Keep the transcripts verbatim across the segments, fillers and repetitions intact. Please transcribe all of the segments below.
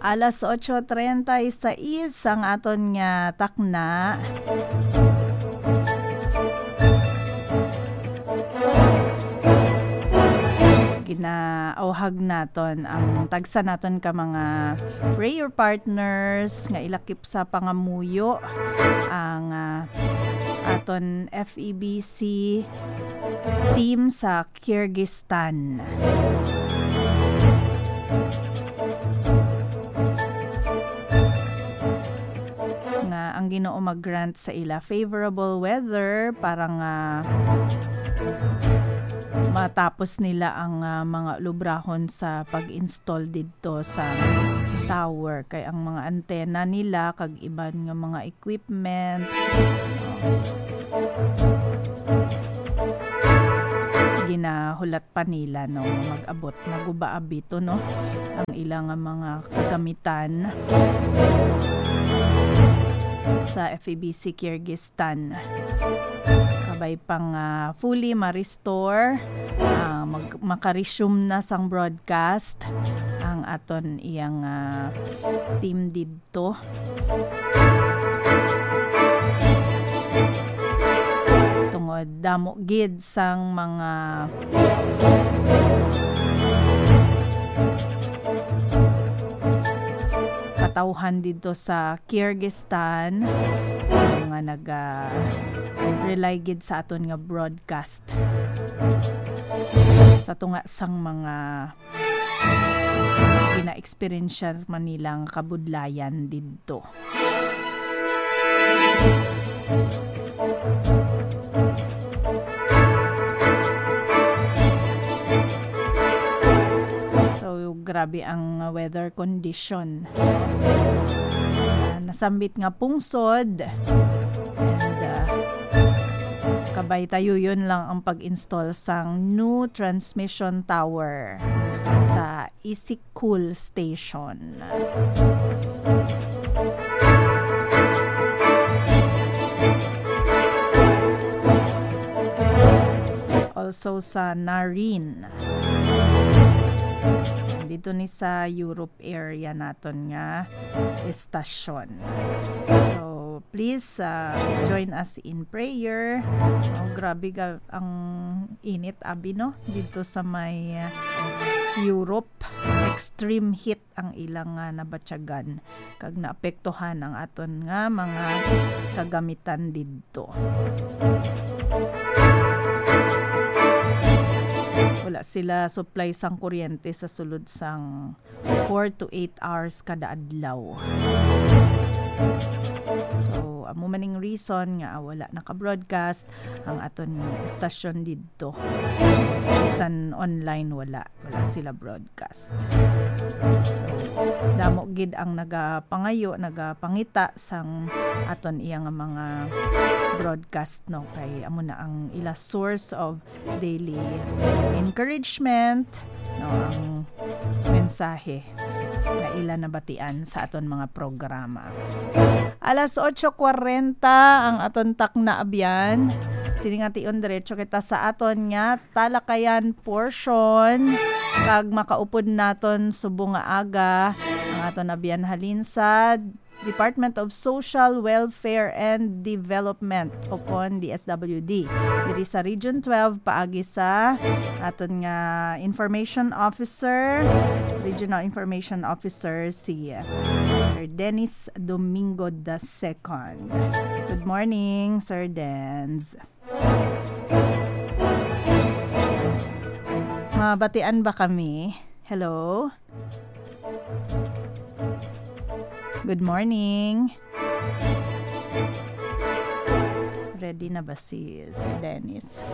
Alas otso treinta y seis ang aton nga takna. Ginaawhag naton ang tagsa naton ka mga prayer partners nga ilakip sa pangamuyo ang, ah, aton F E B C team sa Kyrgyzstan. Nga ang Ginoo mag-grant sa ila favorable weather para nga matapos nila ang, ah, mga lubrahon sa pag-install didto sa tower, kay ang mga antena nila kag iban nga mga equipment ginahulat pa nila, no, mag-abot, naguba abito, no, ang ila nga mga kagamitan sa F E B C Kyrgyzstan. Kabay pang, ah, fully ma-restore, ah, mag-, maka-resume na sang broadcast ang aton iyang, ah, team didto. Tungod damo gid sang mga katawhan didto sa Kyrgyzstan nga naga-rely gid sa aton nga broadcast sa tunga sang mga gina-experience man nila nga kabudlayan didto. So, grabe ang weather condition sa nasambit nga pungsod. And, uh, kabay tayuyon lang ang pag-install sang new transmission tower sa Isikul Station. Also sa Narin. Dito ni sa Europe area naton nga estasyon. So, please, uh, join us in prayer. Oh, grabe ga ang init, abi, no? Dito sa may, uh, Europe, extreme heat ang ilang, uh, nabatyagan, kag naapektuhan ang aton nga mga kagamitan didto. Wala sila supply sang kuryente sa sulod sang four to eight hours kada adlaw. So, amo man ning reason nga wala naka-broadcast ang aton estasyon didto. Bisan online, wala. Wala sila broadcast. So, damo gid ang nagapangayo, nagapangita sang aton iya nga mga broadcast, no? Kay amo na ang ila source of daily encouragement, no, ang mensahe nga ila nabatian sa aton mga programa. Alas otso kwarenta ang aton takna, abyan. Sini nga tion, diretso kita sa aton nga talakayan portion, kag makaupod naton subong nga aga ang aton abyan halin sa Department of Social Welfare and Development, o kon D S W D, diri sa Region twelve, paagi sa aton nga Information Officer, Regional Information Officer, si Sir Dennis Domingo the second. Good morning, Sir Dens. Mabatian ba kami? Hello? Good morning. Ready na ba si Sir Dennis?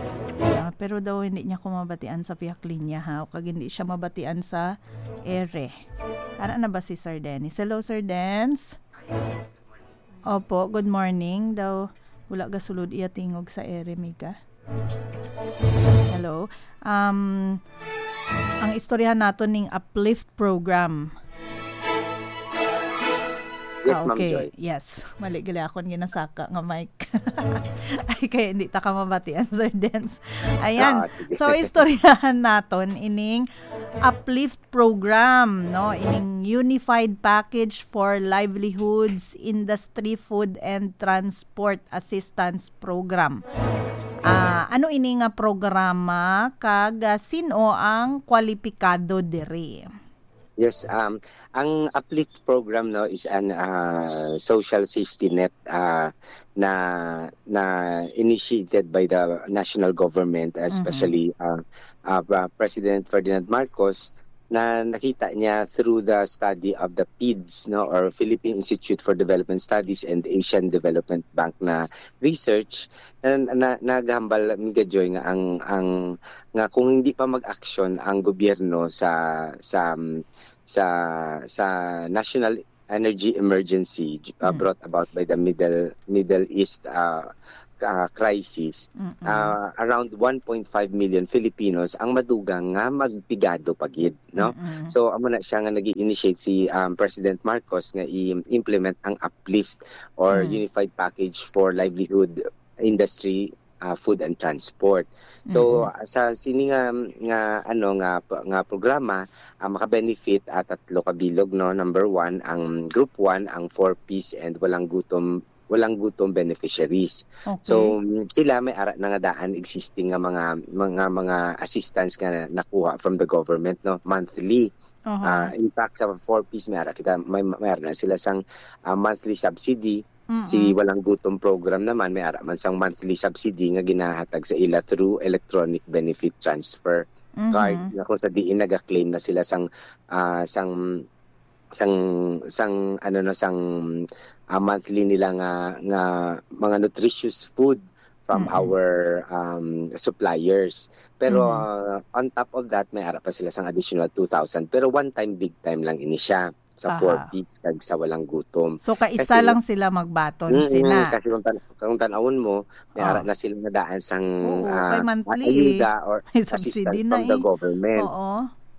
Ah, pero daw hindi niya ko mabatian sa pihak linya, ha? O kag hindi siya mabatian sa ere. Ara na ba si Sir Dennis? Hello, Sir Dens? Opo, good morning. Daw, wala gasulod iya tingog sa ere, Mika. Hello. Um, ang istoryahan nato ning Uplift program. Yes, Ah, Ma'am okay. Joy. Yes. Mali gali akong ginasaka nga mic. Ay, kaya hindi ta ka mabatian, Sir Dens. Ayan. Ah, sige. So, istoryahan naton ining Uplift Program, no? Ining Unified Package for Livelihoods Industry Food and Transport Assistance Program. Ah, ano ini nga programa kag, ah, sino ang kwalipikado diri? Yes, um, ang Uplift program, no, is an, ah, social safety net, ah, na, na initiated by the national government, Mhm. especially, ah, ah, Pre-, President Ferdinand Marcos, na nakita niya through the study of the PIDS, no, or Philippine Institute for Development Studies and Asian Development Bank na research, na, na, naghambal, Amiga Joy, nga ang, ang, nga kung hindi pa mag-aksyon ang gobyerno sa, sa, sa, sa national energy emergency, uh, Mm. brought about by the Middle, Middle East, uh, uh, crisis, Mm-mm. uh, around one point five million Filipinos ang madugang nga magpigado pa gid, no? Mm-mm. So, amo na siya nga nag-i-initiate si, um, President Marcos nga i-implement ang Uplift or Mm. Unified Package for Livelihood Industry, uh, Food and Transport. So, Mm-mm. sa sini nga, nga, ano, nga, nga programa, ah, maka-benefit, ah, tatlo ka bilog, no? Number one, ang group one, ang four Ps and walang gutom, walang gutom beneficiaries. Okay. So, mm, sila may ara na nga daan existing nga mga, mga, mga assistance nga nakuha from the government, no? Monthly. Aha. Ah, in fact, sa four Ps, may ara kita, may, may ara na sila sang, ah, monthly subsidy. Si Mm-mm. Walang Gutom program naman, may ara man sang monthly subsidy nga ginahatag sa ila through electronic benefit transfer card, Mhm. nga kung sa diin naga-claim na sila sang, ah, sang, sang, sang, ano, no, sang, ah, monthly nila nga, nga mga nutritious food from Mm-mm. our, um, suppliers. Pero, Mhm. ah, on top of that, may ara pa sila sang additional two thousand. Pero one time, big time lang ini siya sa four Aha. Ps kag sa Walang Gutom. So, kaisa Kasi lang sila magbaton Mm, sina. kasi kung tan-, kung tan-awon mo, may ara Oh. na sila nga daan sang, Oo, ah, kay monthly eh. ayuda or May subsidy assistance na from the eh. government. Oo.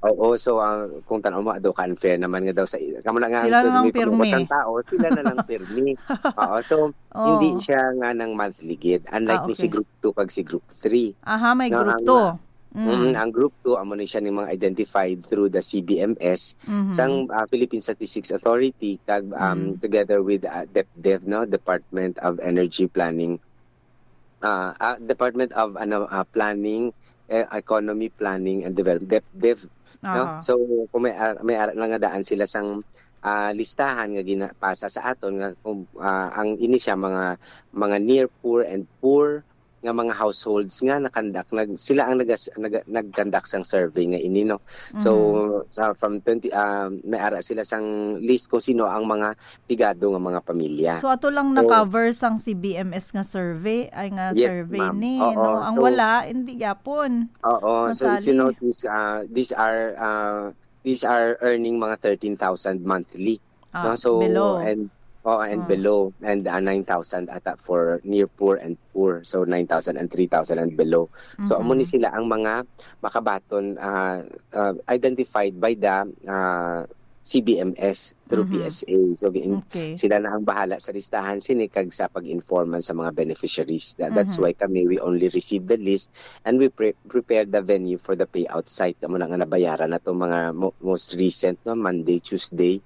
Oo, so, ah, kung tan-awon mo, daw ka unfair naman nga daw sa, kamo na nga Sila ang na lang pirmi, pirmi. Kung tao, sila na lang pirmi. Oo, so, hindi Oh. siya nga nang monthly gid, unlike Ah, ni si okay. Group two kag si Group three. Aha, may No, Group ang, two. ah, Mm. mm, ang Group two, amo ni siya ning mga identified through the C B M S, Mhm. sang, ah, Philippine Statistics Authority, kag, um, Mm. together with, ah, DepDev, no, Department of Energy Planning, ah, ah, Department of, ano, ah, Planning, eh, Economy, Planning and Development, DepDev, no? Aha. So, kung may, ah, may ara na nga daan sila sang, ah, listahan nga ginapasa sa aton nga kung, ah, ang ini siya mga, mga near poor and poor nga mga households nga nakandak, nag-, sila ang nagas-, naga-, nagkandak sang survey nga ini, no? So, Mhm. sa, from twenty, ah, may ara sila sang list kung sino ang mga pigado nga mga pamilya. So, ato lang So, na-cover sang C B M S nga survey, ay nga Yes, survey ma'am. ni, Oo, no? Ang so, wala, hindi gyapon oo, so if you masali. notice, ah, these are, ah, these are earning mga thirteen thousand monthly, Ah, no? So, below. and, oh, and Ah. below, and, ah, nine thousand ata for near poor and poor. So, nine thousand and three thousand and below. So, amo ni Mhm. sila ang mga makabaton, ah, ah, identified by the, ah, C B M S through Mhm. P S A. So, gin-, Okay. sila na ang bahala sa listahan sini kag sa pag-informan sa mga beneficiaries. Tha-, that's Mhm. why kami, we only receive the list and we pre-, prepare the venue for the payout site. Amo na nga nabayaran na tong mga mo-, most recent, no, Monday, Tuesday,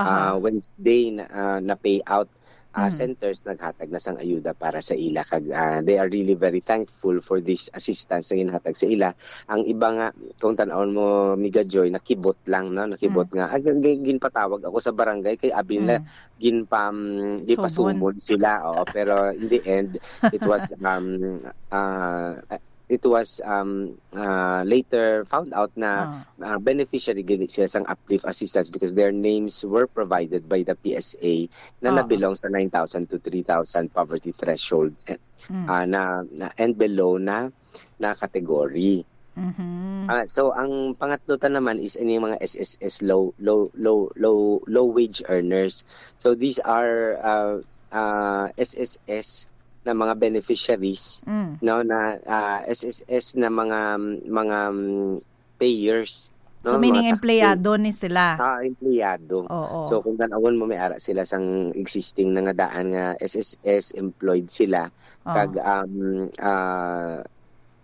Aha. ah, Wednesday na, ah, na payout, ah, Mm. centers naghatag na sang ayuda para sa ila kag, ah, they are really very thankful for this assistance na ginhatag sa ila. Ang iba nga, kung tan-awon mo, Miga Joy, nakibot lang, no? Nakibot Mm. nga, ah, gin-, gin-, ginpatawag ako sa barangay kay abi nila Mm. ginpam-, Sumon. ginpasumon sila, oo. Pero in the end, it was, um, ah, it was, um, ah, later found out na, Ah. ah, beneficiary gid sila sang uplift assistance because their names were provided by the P S A na Oo. nabilong sa nine thousand to three thousand poverty threshold, eh, Mm. ah, na, na, and below na, na category. Mhm. Ah, so, ang pangatlo ta naman is ini mga S S S, low, low, low, low, low wage earners. So, these are, ah, ah, S S S na mga beneficiaries, Mm. no, na, ah, S S S na mga, mga, mm, payers, So, no? Mga meaning, taxi. Empleyado ni sila? Ah, empleyado. Oo. So, kung tan-awon mo, may ara sila sang existing na nga daan nga S S S, employed sila, Oo. kag, um, ah,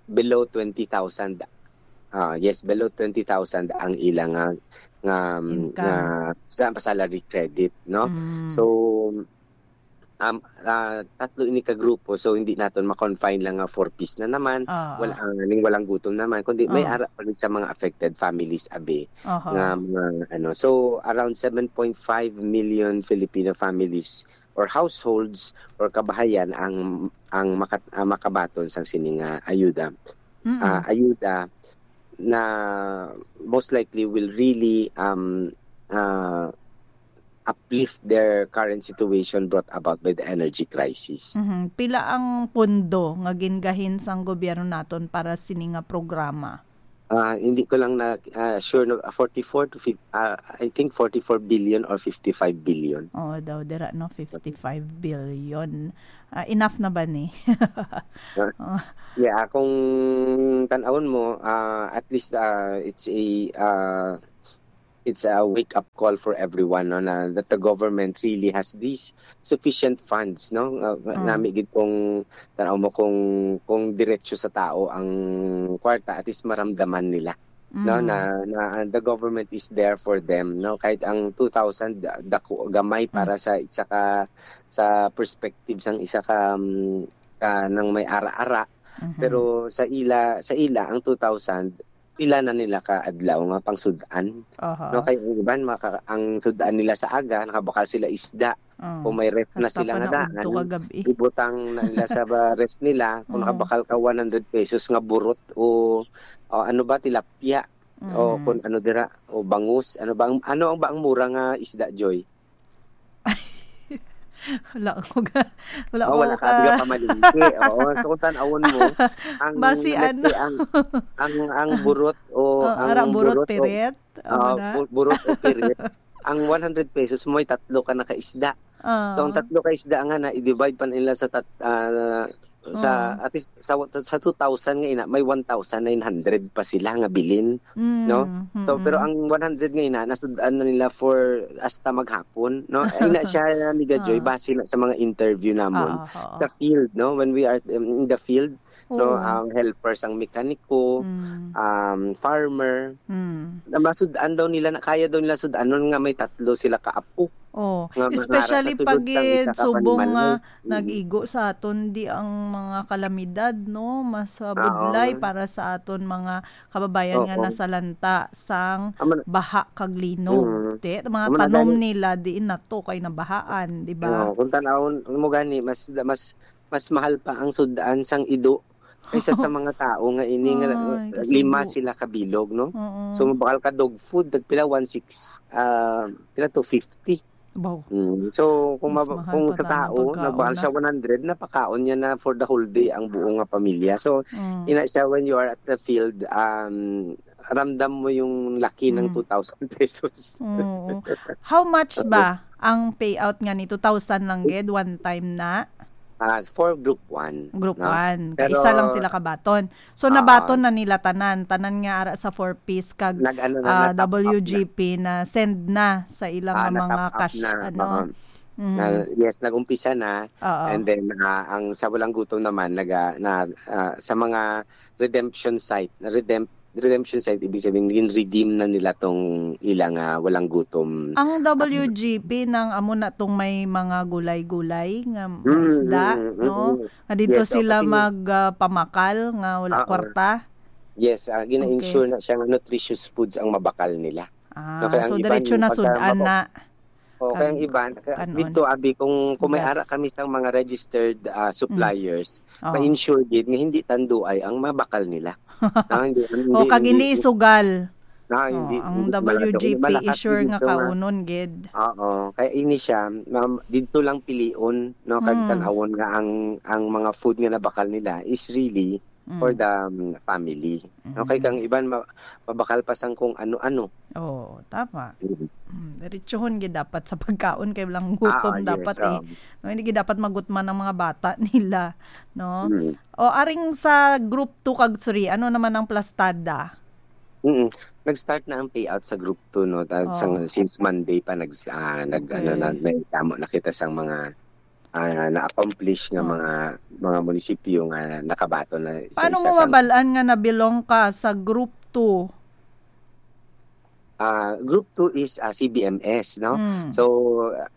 below twenty thousand. Ah, yes, below twenty thousand ang ila nga, nga, Income. nga sa salary credit, no? Mm. So, um, ah, tatlo ini ka grupo, so hindi naton ma-confine lang nga four Ps na naman, Oo. wala, ah, ning walang gutom naman, kundi may Oo. ara pa gid sa mga affected families, abi, Oho. nga mga ano. So, around seven point five million Filipino families or households or kabahayan ang, ang makat-, ah, makabaton sang sini nga ayuda. Mm-mm. Ah, ayuda na most likely will really, um, ah, uplift their current situation brought about by the energy crisis. Mhm. Pila ang pondo nga gingahin sang gobyerno naton para sini nga programa? Ah, hindi ko lang na, ah, sure, no, ah, forty-four to fif-, ah, I think forty-four billion or fifty-five billion. Oo daw, dira, no? Fifty-five billion. Ah, enough na ba ni? Ah, Oh. yeah, kung tan-awon mo, ah, at least, ah, it's a, ah, it's a wake-up call for everyone, no, na that the government really has these sufficient funds, no? Ah, Mm. nami gid kung tan-aw mo kung, kung diretso sa tao ang kwarta, at least maramdaman nila, no, Mm. na, na the government is there for them, no? Kahit ang two thousand, da-, dako, gamay Mm. para sa isa ka, sa perspective sang isa ka, um, ka nang may ara-ara. Mhm. Pero sa ila, sa ila, ang two thousand, pila na nila ka adlaw nga pangsud-an. Aha. No, kay ang iban, maka-, ang sud-an nila sa aga, nakabakal sila isda. Mm. Kung may ref na Hasta sila pa nga na udto daan, kagabi. ibutang na nila sa ba-, ref nila, kung Mm. nakabakal ka one hundred pesos nga burot o, o ano ba, tilapia, o Mm. kung ano dira, o bangus, ano ba ang, ano ang ba ang mura nga isda, Joy? Wala ako ga-, wala Oh, ako wala ka, di ka ka pamalingki. Oo, so kung tan-awon mo, ang, Basi let's ano? say, ang, ang, ang burot o Oh, ang ara, burot, burot o, pirit. Amo ah, na. bu-, burot o pirit, ang one hundred pesos mo, may tatlo ka na ka isda. So, ang Ah. tatlo ka isda nga na, i-divide pa nila sa tat-, ah, sa, Mm. at least, sa, sa two thousand nga ina, may one thousand nine hundred pa sila nga bilin, no? Mm, So, pero mm. ang one hundred nga ina, nasud-an na nila for hasta maghapon, no? Ina siya, Amiga Joy, Ah. base na sa mga interview namon Oo, oo. sa field, no? When we are, um, in the field, no? Oo. Ang helpers, ang mekaniko, Mm. um, farmer, Mm. na masud-an daw nila, na kaya daw nila sud-anon nga may tatlo sila ka apo. Oh, nga manara especially sa sulod pag sang isa ka subong panimalay. nga Mm. nag-igo sa aton di ang mga kalamidad, no? Mas, ah, Oo. budlay para sa aton mga kababayan nga Oo. nasalanta sang Amo na. baha kag linog. Mm. Te, mga Amo na tanom gani. nila diin nato kay nabahaan, di ba? Oo, kung tan-awon mo gani, mas, mas, mas mahal pa ang sud-an sang ido kaysa sa mga tao nga ini nga Ay, lima kasubo. sila ka bilog, no? Oo. So, mabakal ka dog food, tagpila, one six, ah, pila to, fifty. Baw. Mm. So, kung Mas mab-, mahal kung pa sa tao, tana ang pagkaon nagbakal na. siya one hundred, napakaon niya na for the whole day ang buong nga pamilya. So, Mm. ina siya, when you are at the field, um, ramdam mo yung laki ng Mm. two thousand pesos. Oo. How much Okay. ba ang payout nga ni two thousand lang gid, one time na? Ah, for group one, Group no? one. Kay isa lang Pero sila kabaton. So, Oo. nabaton na nila tanan. Tanan nga ara sa four Ps kag, Nag-ano na, ah, na-top up na. W G P na send na sa ilang Ah, nga mga na-top up cash, na. ano. Oo. Mm. Na, yes, nag-umpisa na. Oo. And then, ah, ang sa Walang Gutom naman, naga-, na, ah, sa mga redemption site, na redemp-, redemption site, ibig sabihin, gin-redeem na nila tong ilang, ah, Walang Gutom. Ang W G P nang amo na tong may mga gulay-gulay nga, nga Mm, isda, mm, no? mm. Nga dito Yes, so, sila kasi mag, ah, pamakal nga wala Oo. kwarta? Yes, ah, gina-ensure Okay. na siya nga nutritious foods ang mabakal nila. Ah, No, kaya ang so iban, diretso na pagka sud-an maba-, na oh, kaya ang ang iban, kaya kanon. dito, abi, kung, kung may ara Gas. kami sa mga registered, ah, Mm. suppliers, Oh. ma-ensure gid nga hindi tanduay ang mabakal nila. Ah, hindi, hindi, O, kag hindi hindi isugal. Ah, Oh, hindi, ang hindi malakas. W G P Malakas i-sure gid nga ito nga kaunon gid. Oo, kaya ini siya, ma'am, dito lang pilion, no, kag Hmm. tan-awon nga ang, ang mga food nga nabakal nila is really for Mm. the, um, family. No, kay Mm. kang iban ma-, mabakal pa sang kung ano-ano. Oo, tama. Mm. Mm, diretsuhon gid dapat sa pagkaon kay walang gutom Ah, yes, dapat, eh. um, No, hindi gid dapat magutman ang mga bata nila, no? Mm. O, aring sa group two kag three, ano naman ang plastada? Mm. Nag-start na ang payout sa Group two, no? Ta-, sang, Oh. since Monday pa, nag-, ah, nag-, ano na, Okay. may damo na kita sang mga, ah, na-accomplish nga Oh. mga, mga munisipyo nga nakabaton na isa-isa Paano mo sa mabal-an nga na-belong ka sa Group two? Ah, Group two is, ah, C B M S, no? Mm. So,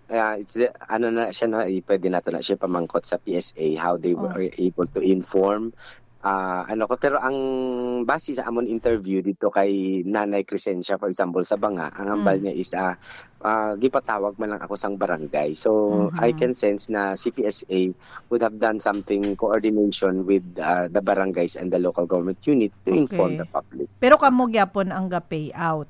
ah, it's the, ano na siya, no? Eh, pwede nato na siya pamangkot sa P S A, how they Oh. were able to inform, ah, ano ko. Pero ang base sa amon interview dito kay Nanay Crescencia, for example, sa Banga, ang hambal Mm. niya is, ah, ah, gipatawag man lang ako sang barangay. So, I Mhm. can sense na C P S A would have done something coordination with, ah, the barangays and the local government unit to inform Okay. the public. Pero kamo gyapon ang ga-payout?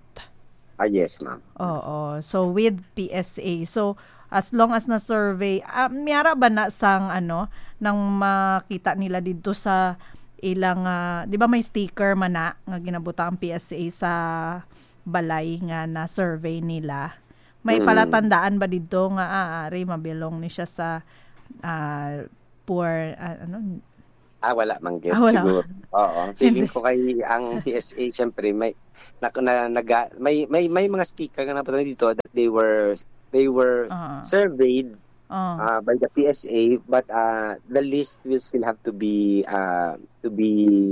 Ah, yes, ma'am. Oo. So, with P S A. So, as long as na-survey, ah, may ara ba na sang, ano, nang makita nila didto sa ilang, ah, di ba may sticker man na nga ginabutang ang P S A sa balay nga na-survey nila? May Mm. palatandaan ba didto nga, ah, ari, mabilong ni siya sa, ah, poor, ah, ano? Ah, wala man gid, Ah, wala. siguro. Oo, feeling Hindi. ko kay ang P S A, syempre, may, na, na, naga-, may, may, may mga sticker nga nabutang dito that they were, they were Oo. surveyed, Oo. ah, by the P S A, but, ah, the list will still have to be, ah, to be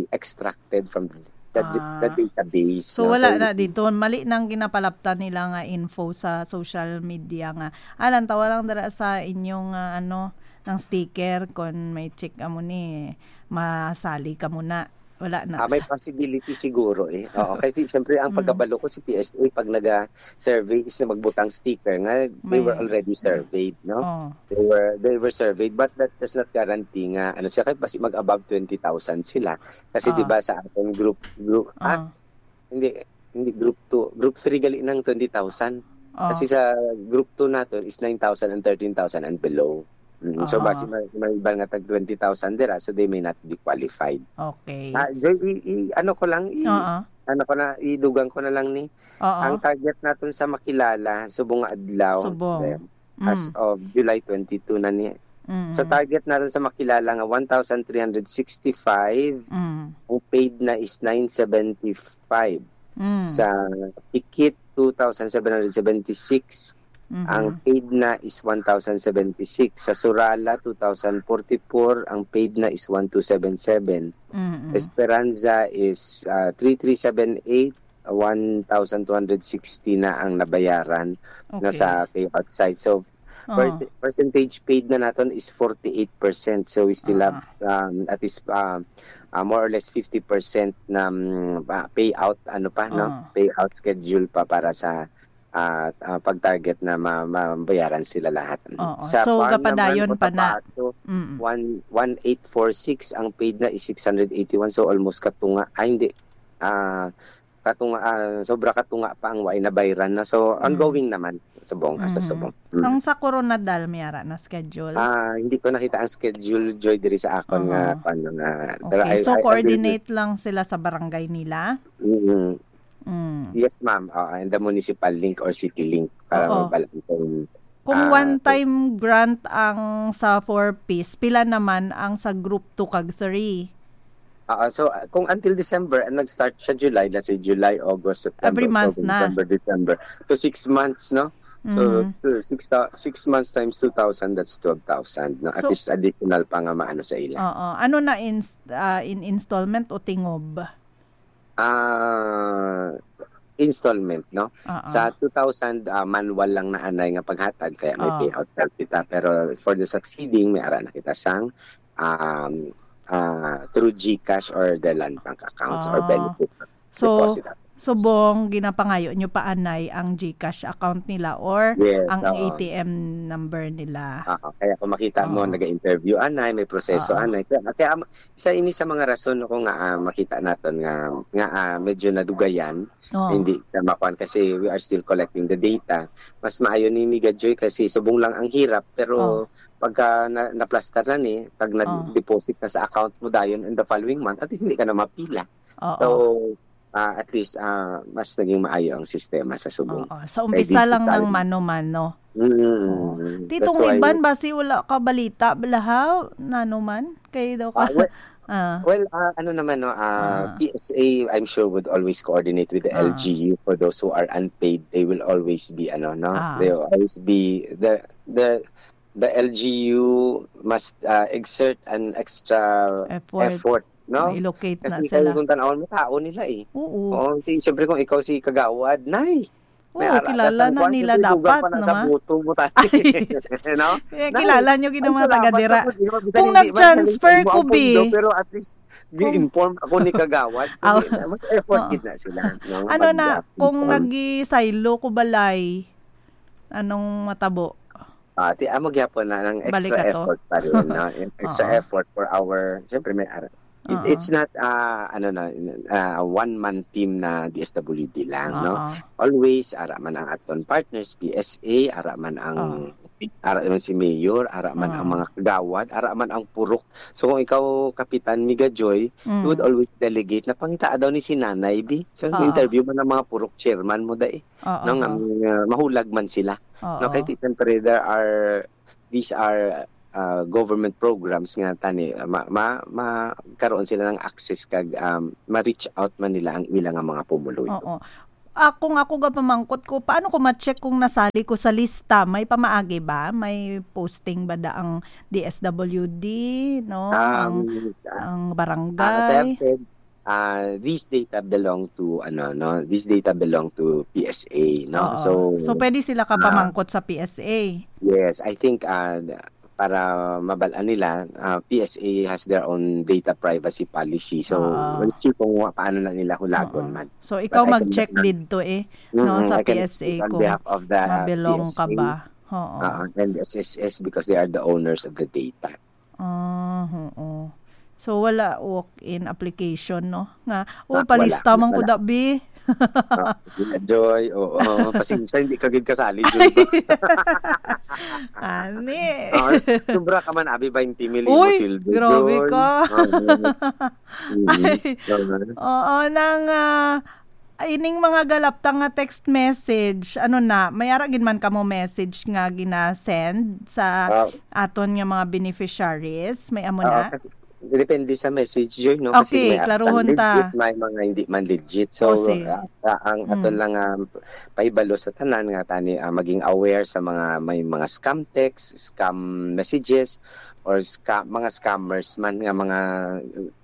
extracted from the, the, the Ah. database, So, no? wala So, na dito. Mali nang ginapalapta nila nga info sa social media nga, "Ah, lantawa lang dira sa inyong, ah, ano, ng sticker, kon may check amo ni, masali ka muna." Wala na Ah, may sa possibility siguro eh. Oo, kasi siyempre ang Mm. pagkabalo ko si P S A pag naga-survey is na magbutang sticker nga they were May already surveyed, no? Oh. They were, they were surveyed, but that does not guarantee nga, ano siya, kahit basi mag-above twenty thousand sila. Kasi Ah. di ba sa ating group, group, ah, Ah. hindi, hindi group two, group three gali ng twenty thousand. Ah. Kasi sa group two naton is nine thousand and thirteen thousand and below. Mm, so, Ah. basi may, may iba nga tag twenty thousand dira, so they may not be qualified. Okay. Ah, Joy, i, i, ano ko lang, i, Ah, ah. ano ko na, idugang ko na lang ni. Ah, ah. Ang target naton sa Makilala, subong nga adlaw, Subong. eh, as Mm. of July twenty-two na ni. Mm. Sa target naton sa Makilala nga one thousand three hundred sixty-five, Mm. ang paid na is nine seventy-five. Mm. Sa Pikit, two thousand seven hundred seventy-six, Mhm. ang paid na is one thousand seventy-six. Sa Surala, two thousand forty-four, ang paid na is one two seven seven. Mm-mm. Esperanza is, ah, three three seven eight, one thousand two hundred sixty na ang nabayaran na Okay. sa payout side. So, Ah. perce-, percentage paid na naton is forty-eight percent. So, we still have, Ah. um, at least, um, ah, more or less fifty percent na, mm, ah, payout, ano pa, no? Ah. Payout schedule pa para sa, ah, ah, pag-target na ma-, mabayaran sila lahat. Oo. Sa So, farm naman, gapadayon pa na. Cotabato, Mm. one, one eight four six, ang paid na is six hundred eighty-one. So, almost katunga. Ay, hindi. Ah, katunga, ah, sobra katunga pa ang way nabayran na. So, Mm. ongoing naman, subong, ah, sa Mm. subong. Mm. Ang sa Coronadal, may ara na schedule? Ah, hindi ko nakita ang schedule, Joy, diri sa akon nga, Oo. kwan, nga, pero Okay, I, so I, I will coordinate lang sila sa barangay nila? Mm. Mm. Yes, ma'am. Oo, and the municipal link or city link para Oo. mabal-an kung, Kung ah, one-time grant ang sa four Ps, pila naman ang sa group two kag three? Ah, so, ah, kung until December, ah, nag-start siya July, let's say July, August, September, Every month October, na. November, December. So, six months, no? So, Mhm. two, six thou-, six months times two thousand, that's twelve thousand, no? At So, least additional pa nga maano sa ila. Oo. Ano na, ins-, ah, in installment o tingob? Ah, installment, no? Oo. Sa two thousand, ah, manual lang na anay nga paghatag, kaya may Oo. payout card kita. Pero for the succeeding, may ara na kita sang, um, ah, through GCash or the land bank accounts or Ah. benefit So, deposit accounts. Subong, ginapangayo nyo pa anay ang GCash account nila or Yes, ang oo. A T M number nila. Oo, kaya kung makita mo, Oo. nag-interview anay, may proseso Oo. anay. Kaya, kaya am-, isa ini sa mga rason ako nga, ah, makita naton nga, nga, ah, medyo nadugayan, Oo. hindi na makuan kasi we are still collecting the data. Mas maayo ni Miga Joy kasi subong lang ang hirap, pero Oo. pagka na, naplastar na ni, pag Oh. nag-deposit na sa account mo dayon in the following month, at least hindi ka na mapila. Oo. So, ah, at least, ah, mas naging maayo ang sistema sa subong. Oo. Sa Kay umpisa lang digital. ng mano-mano. Mm. Oo. Titong That's why Iban, basi wala ka balita, balahaw, nano man? Kay daw ka Ah, we-, Ah. Well, ah, ano naman, no, ah, Ah. P S A, I'm sure, would always coordinate with the Ah. L G U. For those who are unpaid, they will always be, ano, no, Ah. they will always be the the the L G U must, ah, exert an extra Effort. effort, no? Ma-locate na Kasi sila. Kung tanawon mo, tao nila eh. Oo. Oo, si, siyempre kung ikaw si Kagawad, nay, Oo, may ara-, kilala na nila dapat, no, ma? Buto mo tayo. Ay. No? Eh, kilala nyo gid ang mga taga dira. Kung nag-transfer ko, bi. Pero at least, gi-inform ako ni Kagawad. Aw. Mag-effort gid na sila, no? Ano na, kung nag-silo ko balay, anong matabo? Ah, ti-, amo gyapon na ng extra effort pa rin, no? Extra effort for our, siyempre, may ara-, it, it's not, ah, ano na, ah, one-man team na D S W D lang, no? Oo. Always, ara man ang aton partners, P S A, ara man ang, ara man si Mayor, ara man ang mga kagawad, ara man ang purok. So, kung ikaw, Kapitan Miga Joy, you would always delegate na pangitaa daw ni si Nanay, bi. So, interview man ang mga purok chairman mo, dai. Oo. No, nga, nga mahulag man sila. Oo. No, kay ti-, siyempre, there are, these are, uh, government programs nga tani, uh, ma-, ma-, magkaroon sila ng access kag, um, ma-reach out man nila ang ila nga mga pumuluyo. Oo. Ah, kung ako ga pamangkot ko, paano ko ma-check kung nasali ko sa lista? May pamaagi ba? May posting ba da ang D S W D, no? Ang, Um, ang ah, barangay? As I've said, ah, these data belong to, ano, no? These data belong to P S A, no? Oo. So, so, pwede sila ah, kapamangkot sa P S A? Yes, I think, ah, para mabal-an nila, ah, P S A has their own data privacy policy. So, Oo. We'll see kung wa-, paano na nila hulagon Oo. Man. So, ikaw mag-check didto eh, no, sa P S A kung ma-belong ka ba. Mm-mm, I can speak on behalf of the P S A. Oo. Ah, and S S S because they are the owners of the data. Ah, oo. So, wala walk-in application, no? Nga, "Oh, palista man ko, da, bi." Ah, wala. Ah, Joy, oo. Pasensya, hindi ka gid kasali, Joy. Ani. Ah, sobra ka man, abi, twenty mil imo sweldo, Joy. Uy, grabe ka. Oo. Mm. Ay. Oo, nang, ah, ining mga galaptang nga text message, ano na, may ara gid man kamo message nga gina-send sa aton nga mga beneficiaries? May amo na? Ah, kasi depende sa message, Joy, no? Kasi may, okay, klaruhon ta. Legit, may mga hindi man legit. So, ah, ah, ang aton lang, ah, pahibalo sa tanan nga tani, ah, maging aware sa mga, may mga scam text, scam messages, or sca-, mga scammers man nga mga,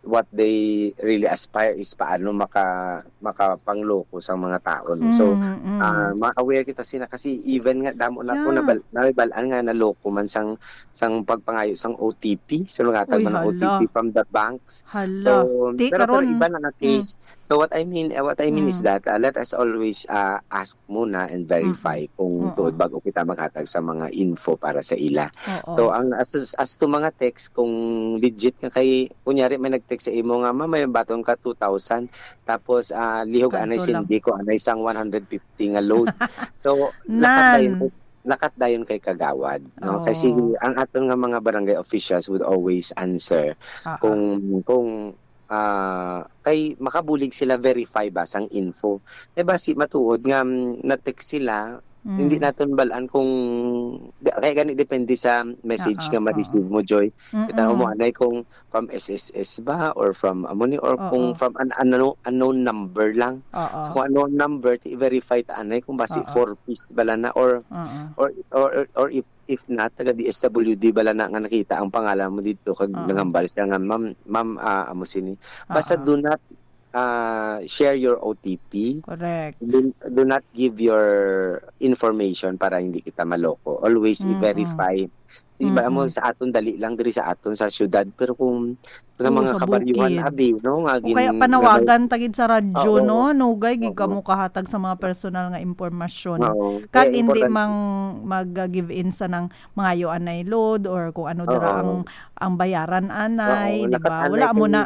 what they really aspire is paano maka-, makapangloko sa mga tao, no? So, ah, ma-aware kita sina kasi even nga damo na ko nabal-, nabal-an nga naloko man sang, sang pagpangayo sang O T P, so naghatag man ang O T P from the banks. Hala. So, pero, pero iba na nga case. So, what I mean, eh, what I mean is that, ah, let us always, ah, ask muna and verify kung tuod bago kita maghatag sa mga info para sa ila. Oo. So, ang as, as to mga text, kung legit nga kay, kunyari may nag-text sa imo nga, "Ma, may baton ka two thousand," tapos, ah, lihog anay sindi ko, anay sang one hundred fifty nga load. So, lakat dayon kay, lakat dayon kay kagawad, no? Kasi ang aton nga mga barangay officials would always answer kung, kung ah, kay makabulig sila verify ba sang info. Kay basi matuod nga, mm, na-text sila, hindi naton bal-an kung, da-, kay gani depende sa message nga ma-receive mo, Joy. Kita mo anay kung from S S S ba or from amo ni or kung from an, ano, unknown number lang. So, kung unknown number, ti-verify ta anay kung basi four Ps bala na or, or, or, or if if not, taga D S W D bala na nga nakita ang pangalan mo dito, kag nanghambal siya nga, "Ma'am, ma'am, ah, amo sini." Basta do not, ah, share your O T P. Correct. Do, do not give your information para hindi kita maloko. Always i-verify. Di ba, amo sa aton, dali lang diri sa aton sa syudad, pero kung sa mga kabaryuhan, abi, no, nga o kaya gin-, panawagan ta gid sa radyo, no? Nugay gid kamo kahatag sa mga personal nga impormasyon. Kag hindi mang mag-give in sa nang mangayo anay load or kung ano dira ang, ang bayaran anay, di ba? Wala mo na.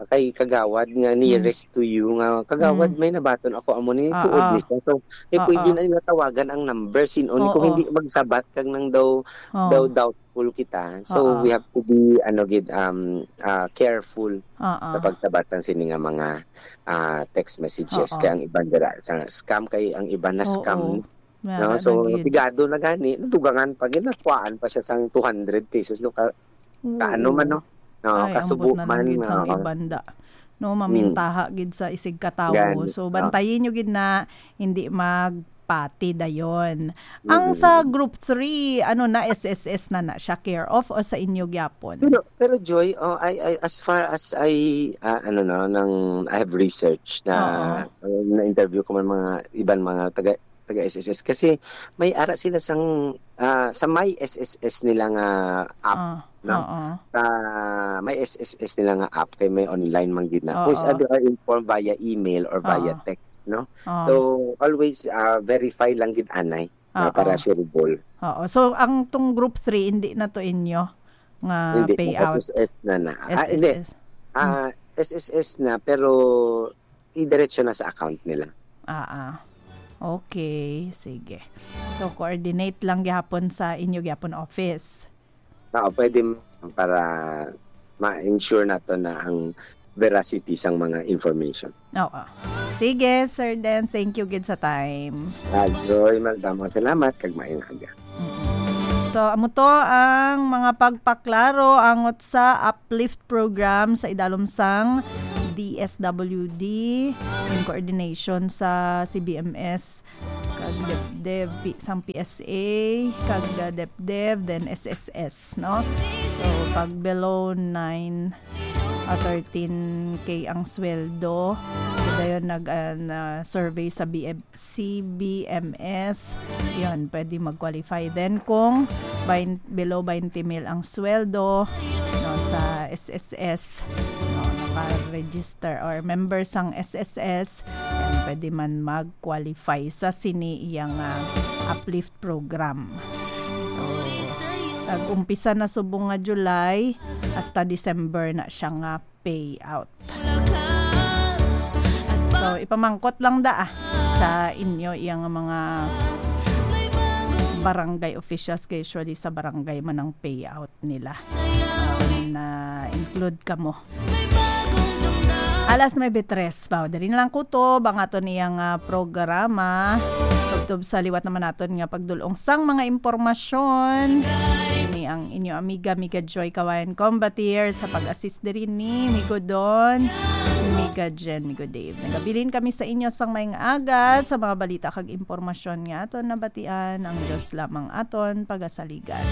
Kay kagawad nga nearest to you nga, "Kagawad, may nabaton ako, amo ni tuod ni siya." So, eh, pwede na nila tawagan ang number, sin-o ni kung hindi magsabat kag nang daw, daw doubtful kita. So, we have to be, ano gid, um, ah, careful sa pagsabat sang sini nga mga, ah, text messages. Kay ang iban dira sa scam, kay ang iban na scam. No? So, pigado na gani, nadugangan pa gid, nakuhaan pa siya sang two hundred pesos, no? Ka-, kaano man, no? Oo, Ay, kasubo ambot na lang man, gid sang oo. Ibanda. No, Mm. mamintaha gid sa isig katawo. Gani, So, oo. bantayin nyo gid na hindi magpati dayon. Ang Mm. sa group three, ano na, S S S na na siya, care of o sa inyo gyapon? Pero, pero Joy, oh, I, I, as far as I, ah, ano no, nang I have research na, Oo. uh, na-interview ko man mga iban mga taga, taga S S S kasi may ara sila sang, ah, sa may S S S nila nga app, Ah, no? oo. Sa may S S S nila nga app kay may online man gid na. Kung sa Oo. they are informed via email or via Oo. text, no? Oo. So, always, ah, verify lang gid anay na Oo. para sure ball. Oo. So, ang tong group three, hindi na to inyo nga Hindi, payout? S S S na na. Ah, hindi. S S S. Ah, Hmm. S S S na, pero idiretso na sa account nila. Ah, ah. Okay, sige. So, coordinate lang gyapon sa inyo gyapon office. Oo, pwede m-, para ma-ensure nato na ang veracity sang mga information. Oo. Sige, Sir Dance, thank you gid sa time. Ah, Joy, madamo salamat, kag maayong aga. Mm-mm. So, amo to ang mga pagpaklaro angot sa Uplift Program sa idalom sang D S W D in coordination sa C B M S, kag DepDev, P-, sang P S A, kag, uh, DepDev, then S S S, no? So, pag below nine, uh, thirteen K ang sweldo, so, dayon nag, uh, na-survey sa B M, C B M S, yun, pwede mag-qualify. Then, kung bain-, below twenty mil ang sweldo, no, sa S S S, no, naka-register or member sang S S S, yan, pwede man mag-qualify sa sini iyang, ah, Uplift Program. So, nag-umpisa na subong nga July, hasta December na siya nga payout. So, ipamangkot lang da, ah, sa inyo iyang mga barangay officials, kay usually sa barangay man ang payout nila. Um, na include kamo. Alas nuebe tres, baw. Diri na lang kutob ang aton iyang, ah, programa. Tubtob sa liwat naman naton nga pagdulong sang mga impormasyon. Ini ang inyo amiga, Miga Joy Kawayan Combatier, sa pag-assist diri ni Migo Don, Miga Jen, Migo Dave. Nagabilin kami sa inyo sang maayong aga sa mga balita kag impormasyon nga aton nabatian. Ang Dios lamang aton pagasaligan.